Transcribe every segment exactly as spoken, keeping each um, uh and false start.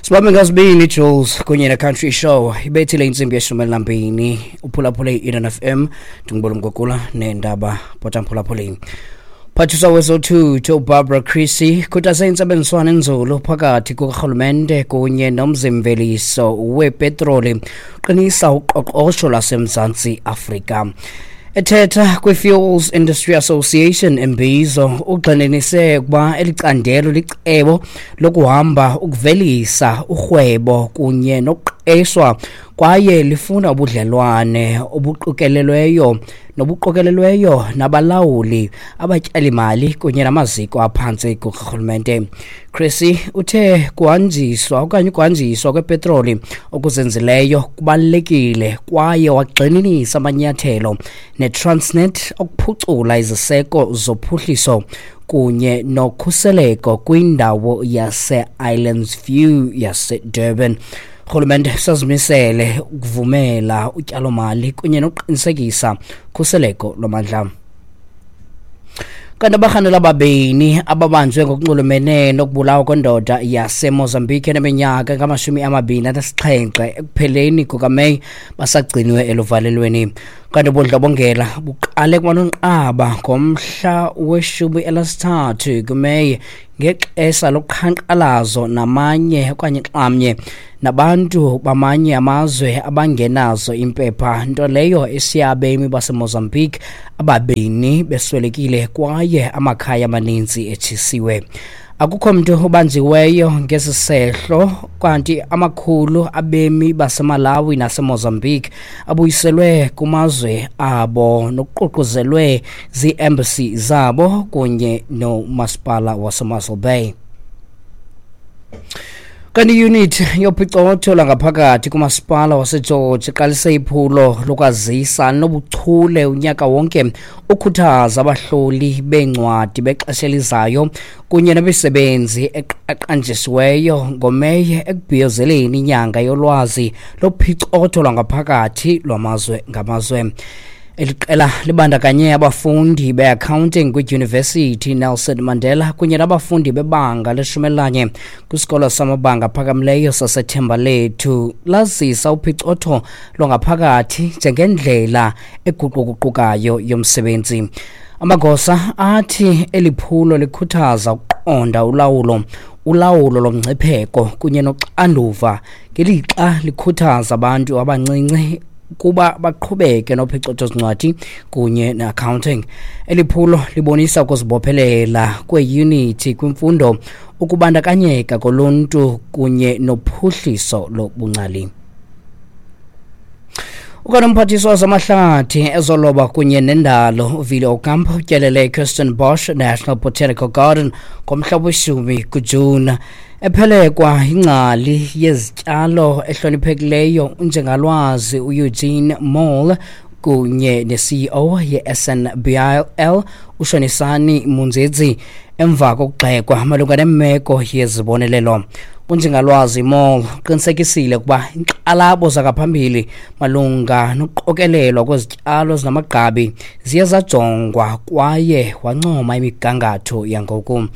Sibambe ngazibini, Jules, kunye ne-Country Show. Ibethile intsimbi yeshumi elinambini. Uphulaphule i-Eden F M, ndingubona Mgogula neendaba potamphulaphuleni. Phathiswa wezothutho uBarbara Creecy khuthaze intsebenziswano enzulu phakathi kukarhulumente kunye nomzimveliso wepetroli qinisa uqoqosho lwaseMzantsi Afrika. Ethetha kwi-Fuels Industry Association imbizo, ugxininise ukuba eli candelo licebo lokuhamba ukuvelisa urhwebo kunye nokuqeshwa kwaye lifuna ubudlelwane obuqikelelweyo nobuqokelelweyo nabalawuli, abatyalimali kunye namaziko aphantsi kukarhulumente. Creecy uthe kuhanjiswa okanye ukuhanjiswa kwepetroli okuzinzileyo kubalulekile kwaye wagxininisa amanyathelo neTransnet okuphucula iziseko zophuhliso kunye nokhuseleko kwindawo yase-Islands View yaseDurban. Urhulumente sazimisele ukuvumela utyalomali kunye nokuqinisekisa ukhuseleko lwamandla. Kanti abarhanelwa ababini ababanjwe ngokunxulumene nokubulawa kwendoda yaseMozambique eneminyaka engamashumi amabini anesixhenxe ekupheleni kukaMeyi basagciniwe eluvalelweni. Kanti ubundlobongela buqale kwaNonqaba ngomhla weshumi elinesithathu kuMeyi ngexesha loqhankqalazo namanye okanye xamnye nabantu bamanye amazwe abangenazo impepha, nto leyo eshiya abemi baseMozambique ababini beswelekile kwaye amakhaya amaninzi etshisiwe. Akukho mntu ubanjiweyo ngesi sehlo, kanti amakhulu abemi baseMalawi naseMozambique abuyiselwe kumazwe abo nokuququzelwe zii-embassy zabo kunye nomasipala waseMossel Bay. Kanti iyunithi yophicotho lwangaphakathi kumasipala waseGeorge iqalise iphulo lokwazisa nobuchule unyaka wonke ukhuthaza abahloli beencwadi bexesha elizayo kunye nemisebenzi eqaqanjisiweyo ngoMeyi ekubhiyozeleni inyanga yolwazi lophicotho lwangaphakathi lwamazwe ngamazwe. Eli qela libandakanye abafundi be-accounting kwiDyunivesithi Nelson Mandela kunye nabafundi bebanga leshumi elinanye kwisikolo samabanga aphakamileyo saseThembalethu, lazisa uphicotho lwangaphakathi njengendlela eguquguqukayo yomsebenzi. Amagosa athi eli phulo likhuthaza ukuqonda ulawulo ulawulo lomngcipheko kunye noxanduva ngelixa likhuthaza abantu abancinci kuba baqhubeke nophicotho zincwadi kunye ne-accounting. Eli phulo libonisa ukuzibophelela kweeyunithi kwimfundo, ukubandakanyeka koluntu kunye nophuhliso lobungcali. Ukanti umphathiswa wezamahlathi, ezoloba kunye nendalo uVili Ocampo utyelele iKirstenbosch National Botanical Garden ngomhla weshumi kuJuni ephelekwa ingcali yezityalo ehloniphekileyo unjengalwazi uEugene Mall kunye ne-C E O ye-S N B L uShonisani Munzedzi emva kokugxekwa malunga nemeko yezibonelelo. Unjengalwazi Mall uqinisekisile ukuba inkxalabo zangaphambili malunga nokuqokelelwa kwezityalo ezinamagqabi ziye zajongwa kwaye wancoma imigangatho yangoku.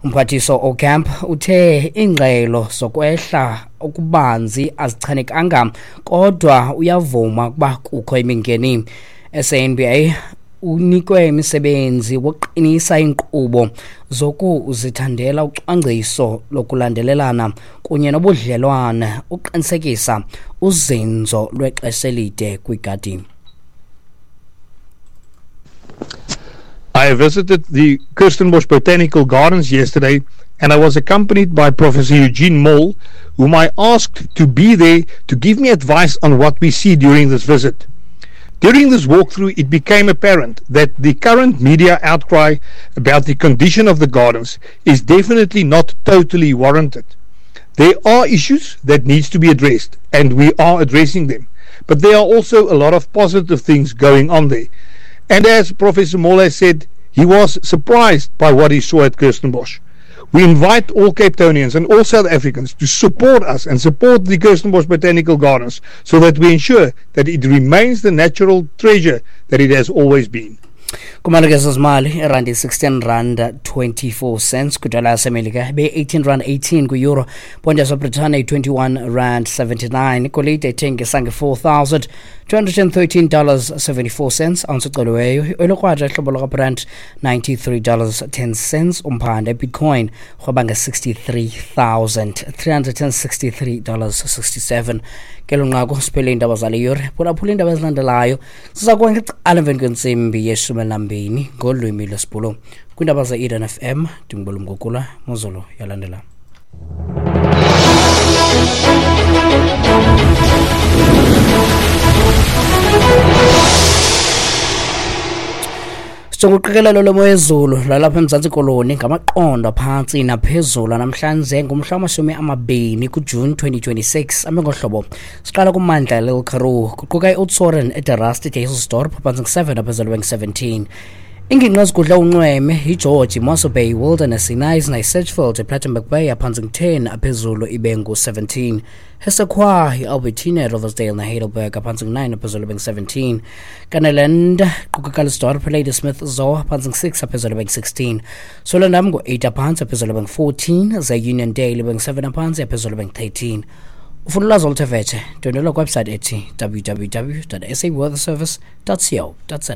Umphathiswa Ocamp uthe iingxelo zokwehla okubanzi azichanekanga kodwa uyavuma ukuba kukho imingeni. S N B A unikwe imisebenzi wokuqinisa iinkqubo zokuzithandela, ucwangciso lokulandelelana kunye nobudlelwane uqinisekisa uzinzo lwexesha elide kwigadi. I visited the Kirstenbosch Botanical Gardens yesterday and I was accompanied by Professor Eugene Mall, whom I asked to be there to give me advice on what we see during this visit. During this walkthrough, it became apparent that the current media outcry about the condition of the gardens is definitely not totally warranted. There are issues that needs to be addressed, and we are addressing them. But there are also a lot of positive things going on there. And as Professor Mall has said, he was surprised by what he saw at Kirstenbosch. We invite all Capetonians and all South Africans to support us and support the Kirstenbosch Botanical Gardens so that we ensure that it remains the natural treasure that it has always been. Kumalekeza zimali, irandi sixteen rand twenty-four cents kwidola yasemelika, ibe eighteen rand eighteen kwi-euro, ponti yaseBritane i-twenty-one rand seventy-nine. Igolide ithengisa nge-four thousand two hundred thirteen dollars seventy-four cents ounce ecoliweyo. Ioyile ihlobo likaBrent ninety-three dollars ten cents umphanda. Ibitcoin rhweba nge-sixty-three thousand three hundred sixty-three dollars sixty-seven. Kelo nqaku siphele iindaba zale yure. Phulaphula iindaba ezilandelayo ziza kuba ngecala emveni kwentsimbi yeshumi elinambini ngolwimi lwesiBhulu. Kwiindaba ze-Eden F M, ndingubulumgugula mozolo yalandela. Sijonga uqikelelo lwemo yezulu lwalapha eMzantsi Koloni ngamaqondo aphantsi naphezulu namhlanje ngumhla wamashumi amabini kuJuni twenty twenty-six. Ame ngohlobo: siqala kummandla Little Karoo, kuquka iOudtshoorn, eDe Rust, iDysselsdorp, phantsi ngu-seven, aphezulu bengu-seventeen. Ingingqi ezigudla unxweme iGeorge, iMossel Bay, Wilderness, iKnysna, iSedgefield, iPlettenberg Bay, aphantsi ngu-ten, aphezulu ibe ngu-seventeen. Hessequa, iAlbertina, iRiversdale neHeidelberg, aphantsi ngu-nine, aphezulu bengu-seventeen. Kannaland quka Calitzdorp, Ladysmith, Zoar, aphantsi ngu-six, aphezulu bengu-sixteen. Swellendam ngu-eight aphantsi, aphezulu bengu-fourteen. Ze-Uniondale ibe ngu-seven aphantsi, aphezulu bengu-thirteen. Ufuna ulwazi oluthe vetshe, ndwendwela kwiwebsite ethi w w w dot s a weather service dot co dot za.